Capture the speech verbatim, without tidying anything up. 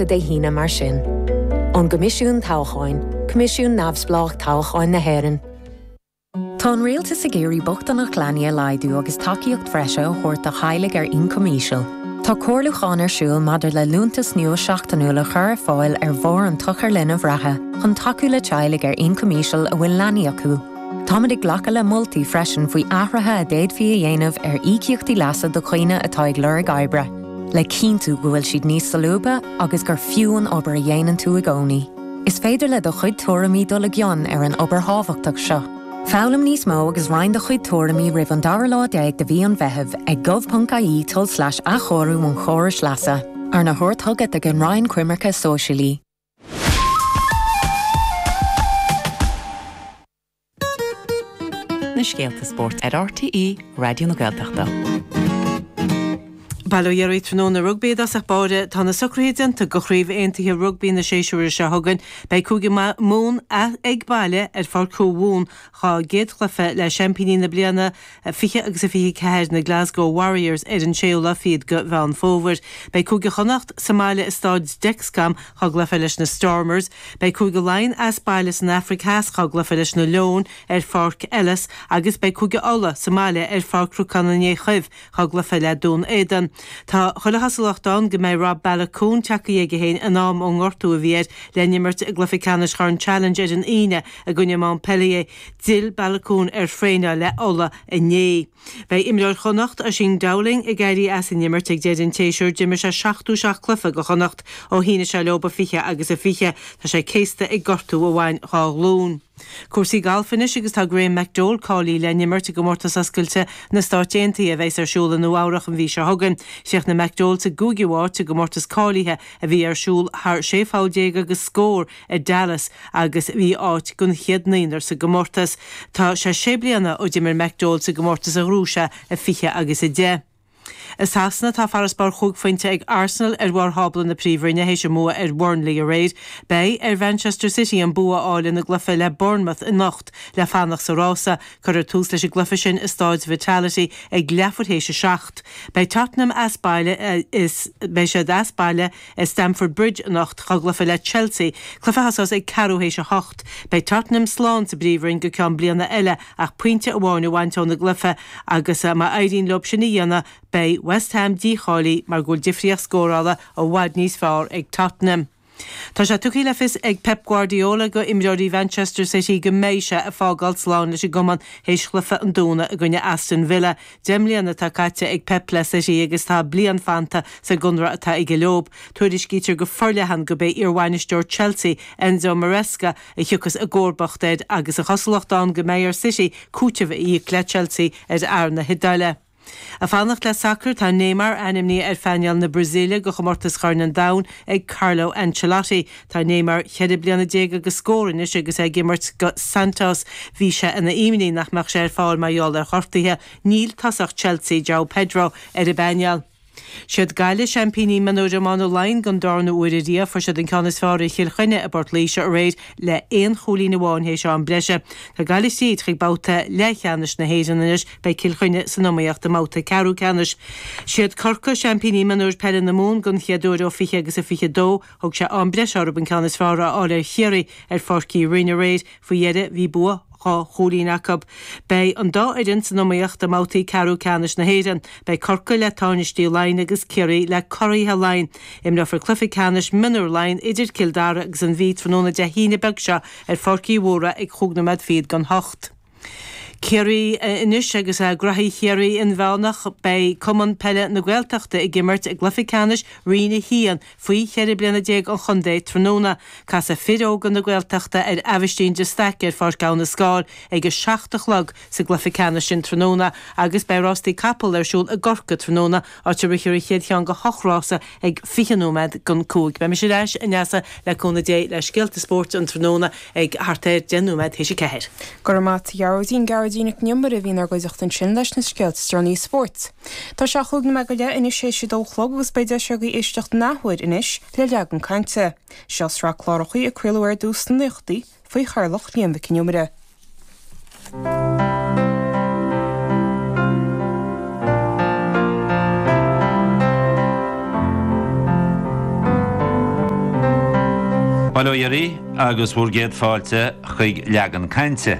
vóta Dé hAoine mar sin. Ón gCoimisiún Toghcháin, Coimisiún Neamhspleách Toghcháin na hÉireann. Tá an rialtas ag iarraidh bochtaineacht leanaí a laghdú agus tacaíocht bhreise a thabhairt do theaghlaigh ar ioncam íseal. Tá comhairliúchán ar siúl maidir le liúntas nua seachtainiúil a chur ar fáil ar bharr an tsochair linbh reatha chun tacú le teaghlaigh ar ioncam íseal a bhfuil leanaí acu. Táimid ag glacadh le moltaí freisin faoi athruithe a d'fhéadfaí a dhéanamh ar íocaíochtaí leasa do dhaoine atá ag lorg oibre, le cinntiú go bhfuil siad níos solúbtha agus gur fiú an obair a dhéanann tú i gcónaí. Is féidir le do chuid tuairimí dul i gcion ar an obair thábhachtach seo. Foghlaim níos mó agus roinn do chuid tuairimí roimh an dara lá déag de mhí an Mheithimh ag gov.ie tulslais athchóiriú an chórais leasa, arna thabhairt chugat ag an Roinn Coimirce Sóisialaí. Na scéalta spóirt ar RTÉ Raidió na Gaeltachta. Bail ó Dhia oraibh tráthnóna rugbaí i dtosach báire tá na socruithe déanta do Chraobh Aontaithe Rugbaí na séasúr seo chugainn. Beidh Cúige Mumhan ag baile ar Pháirc Mumhan dá gcéad chluiche le seaimpíní na bliana fiche agus a fiche ceathair na Glasgow Warriors ar an séú lá fichead de Mheán Fómhair. Beidh Cúige Chonnacht sa mbaile i Stáid Dexcom dá gcluiche leis na Stormers. Beidh Cúige Laighean as baile san Afraic Theas dá gcluiche leis na Leoin ar Pháirc Ellis agus beidh Cúige Uladh sa mbaile ar Pháirc Chnocán an Fhéich dá gcluiche le Dún Éideann. Tá chuile chosúlacht ann go mbeidh Rob Baloucoune tagtha chuige féin in am ón ngortú a bhí air le n-imirt i gcluiche ceannais Chorn Challenge ar an Aoine i gcoinne Montpellier. D'fhill Baloucoune ar thraenáil le Ulaidh inné. Beidh imreoir Chonnacht Oisín Dowling ag éirí as an imirt ag deireadh an tséasúir d'imir sé seachtó seacht cluiche do Chonnacht ó shínigh sé leo i fiche agus a fiche tá sé céasta ag gortú a bhain dhá ghlúin. Cúrsaí galf anois agus tá Graham McDowell cáilithe le n-imirt i gcomórtas oscailte na Stát Aontaithe a bheas ar siúl i Nua Eabhrac an mhí seo chugainn. Chríochnaigh McDowell sa gcúigiú háit i gcomórtas cáilithe a bhí ar siúl thar sé pholl déag agus scór i Dallas agus bhí áit den chéad naonúr sa gcomórtas. Tá sé sé bliana ó d'imir McDowell sa gcomórtas a ghnóthaigh sé i fiche agus a deich. I Sasana tá farasbarr chúig phointe ag Arsenal ar bharr thábla na Príomhroinne théis a mbua ar Burnley aréir. Beidh ar Manchester City an bua a fháil ina gcluiche le Bournemouth anocht le fanacht sa rása, cuirfear tús leis an gcluiche sin i Stáid Vitality ag leathuair théis a seacht. Beidh Tottenham as baile is beidh siad as baile i Stamford Bridge anocht dá gcluiche le Chelsea, cluiche a thosós ag ceathrú théis a hocht. Beidh Tottenham slán sa bPríomhroinn go ceann bliana eile ach pointe amháin a bhaint óna gcluiche agus má éiríonn leo sin a dhéanamh beidh West Ham dícháilithe mar go bhfuil difríocht scórála i bhfad níos fearr ag Tottenham. Tá sé tugtha le fios ag Pep Guardiola go imreoirí Manchester City go mbeidh sé ag fágáil slán leis an gcumann théis chluiche an Domhnaigh i gcoinne Aston Villa. Deich mbliana atá caite ag Pep le City agus tá bliain fanta sa gconradh atá aige leo. Tuairiscítear go forleathan gurb é iarbhainisteoir Chelsea Enzo Maresca a thiocfas i gcomharbacht air agus an chosúlacht ann go mbeidh ar City cúiteamh a íoc le Chelsea ar fhear na hIodáile. Ag fanacht le sacar tá Neymar ainmnithe ar phainéal na Brasaíle do chomórtas Chorn an Domhain ag Carlo Ancelotti. Tá Neymar ceithre bliana déag agus scór anois agus é ag imirt go Santos. Bhí sé ina imní nach mbeadh sé ar fáil mar gheall ar ghortuithe. Níl tosach Chelsea João Pedro ar an bpainéal. Siad Gaillimh seaimpíní mionúir iomána Laighean don darna huair ariamh fuair siad an ceann is fearr ar Chill Chainnigh i bPort Laoise aréir le aon chúilín amháin théis am breise. Tá Gaillimh tríd chuig babhta leathcheannais na hÉireann anois beidh Cill Chainnigh san iomaíocht i mbabhta ceathrú ceannais. Siad Corcaigh seaimpíní mionúir peile na Mumhan don chéad uair ó fiche agus a fiche dó, thug sé am breise orthu an ceann is fearr a fháil ar Chiarraí ar Pháirc Uí Rinn aréir faoi dheireadh bhí bua dhá chúilín acu. Beidh an dá fhoireann san iomaíocht i mbabhtaí ceathrú ceannais na hÉireann. Beidh Corcaigh le tánaistí Laighean agus Ciarraí le curaithe Laighean. Imreofar cluiche ceannais mionúr Laighean idir Cill Dara agus an Mhí tráthnóna Dé hAoine beag seo ar Pháirc Uí Mhórdha ag chúig nóiméad fichead don hocht. Ciarraí anois agus graithí Chiarraí inmheánach beidh Cumann Peile na Gaeltachta ag imirt i gcluiche ceannais Roinn a haon faoi cheithre bliana déag an chontae tráthnóna. Casfaidh fir óga na Gaeltachta ar Aibhistín de Staic ar Pháirc Abha na Scáil ag a seacht a chlog sa gcluiche ceannais sin tráthnóna agus beidh rástaí capall ar siúl i gCorcaigh tráthnóna áit a rithfear an chéad cheann de hocht rása ag fiche nóiméad don cúig. Beidh mise ar ais a Neasa le cúnamh Dé le scéalta spóirt an tráthnóna ag thart ar deich nóiméad théis a ceathair. Go raibh maith agat a Ghearóidín Gearóidín Nic an Iomaire a bhí inár gcuideachta ansin leis na scéalta is deireanaí spóirt. Tá sé chúig nóiméad go leith anois théis a dó a chlog agus beidh deis agaibh éisteacht an athuair anois le leagan cainte. Seo sraith cláracha a craoladh ar dtús sna naochadaí faoi chathaoirleacht Liam Mhic Con Iomaire. Bail ó Dhia oraibh agus bhur gcéad fáilte chuig Leagan Cainte.